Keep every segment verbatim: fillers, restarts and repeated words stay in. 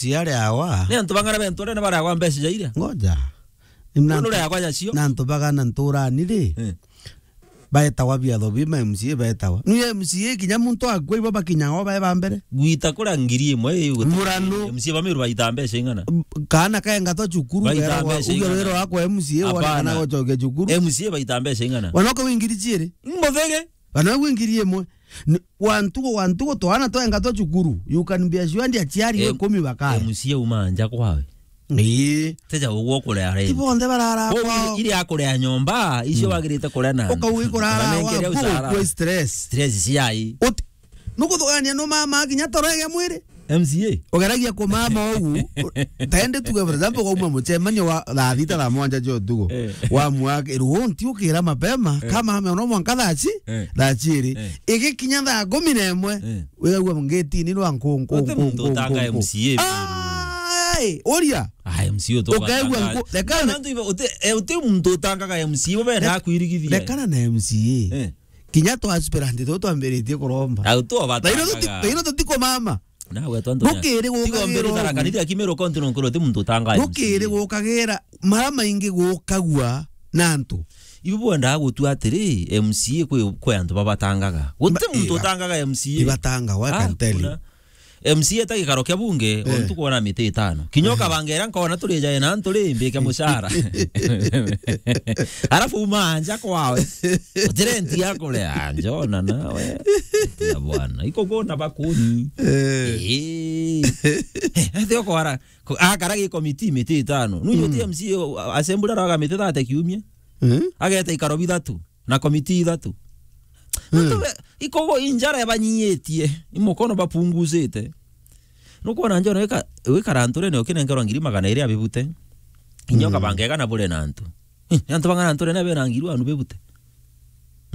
ciare awa. Ni antu bang'ana bentu rene bare agwa mbeca jaire. Ngoja. Na Ndu re agwa jacio. Na antu bagana nturani ri. Eh. Baetagwa biatho bi ma M C A baetagwa. Ni M C A kinya muntu akua ibo bakinyagwa bae ba mbere. Gwita kura ngiri imwe, eh, guti Murano. M C A ba Meru baita mbeca ing'ana? M-, kaana kaengatwa cukuru, Baita beragwa, mbeca uge ing'ana? Wira wakwa M C A wonekana Hapana. Gocokia cukuru. M C A baita mbeca ing'ana? Wanoka wi ngiri ciiri? Mbothege. Kana gwi ngiri imwe. N-, wa ntugo, wa ntugo, twana twenga twa cukuru, you can be assured aciari Em-, ikumi bakari. M C A uma nja kwawe. Ii. Teja uguo kurea rent. Ti bonthe barara Kwa kwao. Ile, ile ya kurea nyomba, icio Mm. wagirite kurea na Ukauga ikurara Kana wa nengere buku ucara. Kwa stress. Stress ciai. Uti-, nukuthugania no mama kinya torege mwiri. M C A? Ugeragia kumama ugu, taende tuge, for example, kwauma mucemanio wa thaa thita, thaa mwanja cia utugo, Eh. Wa mwaka, ruo nti ukira mapema, Eh. Kama ame ono mwanka thaa ci-, Eh. Thaa ciiri. Eh. Igikinya thaa kumi na imwe, Eh. Wigagua ngitini rwa nku, nku, Uti nku, muntu nku, utanga nku, nku. M C A. Ai, uria. Ah, M C A utu Ukaigua ugatanga. Nku-, rekana Na antu iba, uti, eh, uti muntu utangaga M C A, bo benda Rek-, kwirigithia. Rekana na M C A. Eh. Kinya twa aspirant tu twambiritie kuromba. Au tu abatangaga. Tairo tuti-, tairo tutikumama. Nawe twantu Gukiri gukagira ugu. Kanithia Kimeru County no nkorwo ti muntu utangaga M C A. Gukiri gukagira, mara maingi gukagua na antu. Ibu bwendaga gutua atiri, M C A kwi, kwi antu babatangaga. Guti Ma-, muntu iba-, utangaga M C A. Ibatangaga, I can tell you. Hakuna. M C A ta gikaro kia bunge, Eh. Ontu kwona miti itano. Kinya Eh. Ukabanga ira nkona turi jae na antu ri, mbike mucara. Arafu uma anja kwawe. Uti rent ya kuria, njona nawe. Ya bwana, iko kwona bakuni. Eh. Eh. Eh, athi okwara, ko-, akara gi committee miti itano. Nu Mm. T M C assembly araga miti thate kiumia. Eh? Ageta ikaro bithatu na committee ithatu. Mm. Antu be-, ikogo injara yabanyiitie, imukono bapunguzite. Nukwona njona wika-, wikara nturene ukinengerwa ngiri magana iri abibute. Inyo Mm. kabanga ega na bure na antu. Eh, ni antu bang'ana nturene bena ngiri wanu bibute?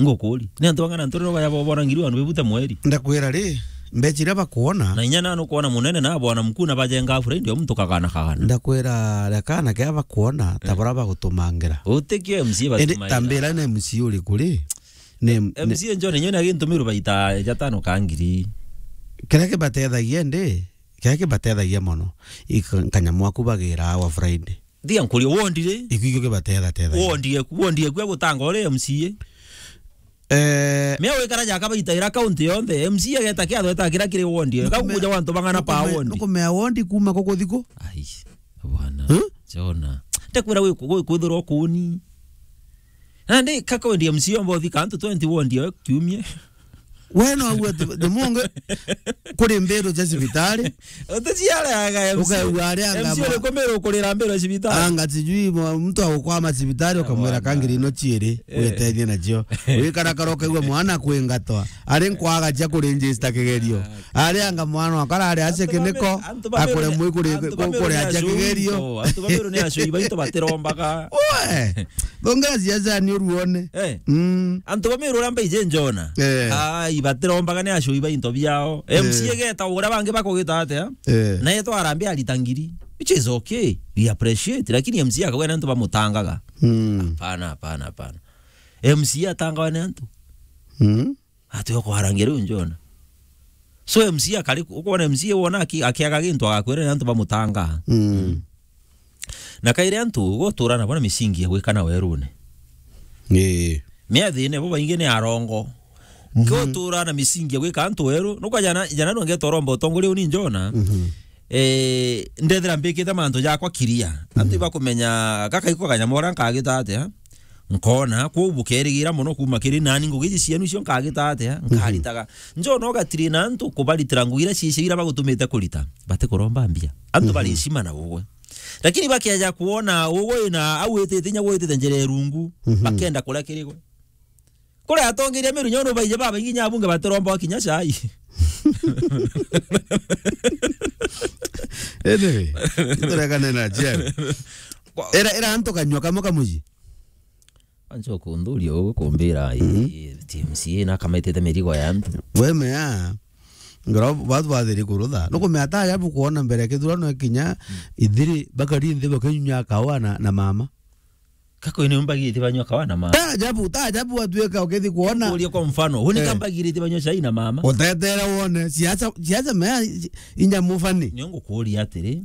Ngukuri. Ni antu bang'ana nturene baya bo-, bona ngiri wanu bibute mweri? Ndakwira ri, mbecha iria bakwona. Na inya nanu kwona munene na bwana mkuu na bajenga afura ndio muntu kagana kagana. Ndakwira, rekana kia bakwona, ta Eh. Bura bagutumangira. Utikio M C A Indi batumaira. Tambira ni M C A uriku ri? Ni, ni M C A njone nyone agintumirwa baita jatano ka ngiri. Kiria kibatethagia ndi, kiria kibatethagia mono, i ka-, kanyamu aku bagira wa Friday. Thia nkuria, wondi ri? Iku ikio kibatetha, tethagia. Wondi eku, wondi eku ya gutanga uri M C A? Eh. Mea wikara jaka baita ira county yonthe, M C A ageta kiatho eta kira kiri wondi. Nukumea-, Kakuja wantu bang'ana pa nukumea-, wondi. Nukumea wondi kuma kuku thiku? Ai, bwana. Huh? Jona. Ndakwira gwi-, gwi-, kwithirwa kuni. Nandi kakwendi M C A omba uthika antu twenty wondi yo kiumie. We no agu ati, the monge kuri mbiru cia cibitari. Uticiaraga M C A. Ukaigua ari anga M C A ma-, uriku mbiru kurira mbiru cibitari? Anga sijui mwa-, mtu agukwama cibitari, ukamwira Bwana. Kangiri ino ciiri, Eh. Witethie nacio. Wikarakara ukaigua mwana kwingatwa. Ari nkwaga cia kuregister kigerio. Ah. Ari anga mwana wakwa arari acia kiniko, antu ba Meru, akure mwi kuri, antu ba Meru kuri ni acia acui kigerio. Baito, antu ba Meru ni acui baito batirombaga. We, thongera ciaca ni uruone. Eh. Mm. Antu ba Meru uria mbaije njona. Eh. Ai, batirombaga ni acui ba into biao. Eh. M C A geta uria bangi bakugita atia? Eh. Na etwa arambe arita ngiri, which is okay. We appreciate. Lakini M C A akagwa ni antu bamutangaga. Mm. Hapana, hapana, hapana. M C A atangawa ni antu. Mm. Ati okwarangia riu njona. So M C A akari, ukwona M C A wona aki-, akiaga gintu agakwira ni antu bamutangaa. Mm. Na kairi antu gutura nabo na misingi ya gwikana werune. Ii. Miathine bo baingi ni arongo. Mhm. Gutura na misingi ya gwika antu weru. Nukwa jana, jana nongetoromba utongoria uni njona. Mhm. Eh, ndethira mbikite mantu jakwa kiria. Antu ibakumenya gaka iko kanyamu uria nkagita atia? Nkona, kwou bukerigira mono kuuma kiri nani, ngugi ici cienu icio nkagita atia? Mhm. Nkaritaga. Njona ugatiri na antu kubaritira ngugi iria cicio iria bagutumite kurita. Batikuromba mbia. Antu Mhm. bari heshima na ugwe. Lakini bakeja kuona ugwe na au witite inya gwitite njira irungu, Mhm. bakenda kuria kirigwe. Kuri atongeria Meru nyono baije babaingi nya abunge batiromba kinya cai. Anyway, turekane na Jen. Kwa- Era, era antu kanyua kamwe kamuji. Ancho kundhuria ugu kumbira, Mhm. eh, T M C na kamaitite mirigo ya antu. We mea, ngoro batu bathiri kurutha. Nukumea ta ajabu kuona mbere kithurano kinya Mm. ithiri bakari nthi bakinyunya kawa na, na mama. Kako ni mbagirite banywa kawa na mama. Ta ajabu, ta ajabu watuika ukithi kuona. Kuria kwa mfano, huni Eh. kambagirite banywa chai na mama. Utetere wone, siasa, siasa mea, inya mufani. Niongo kuria atiri.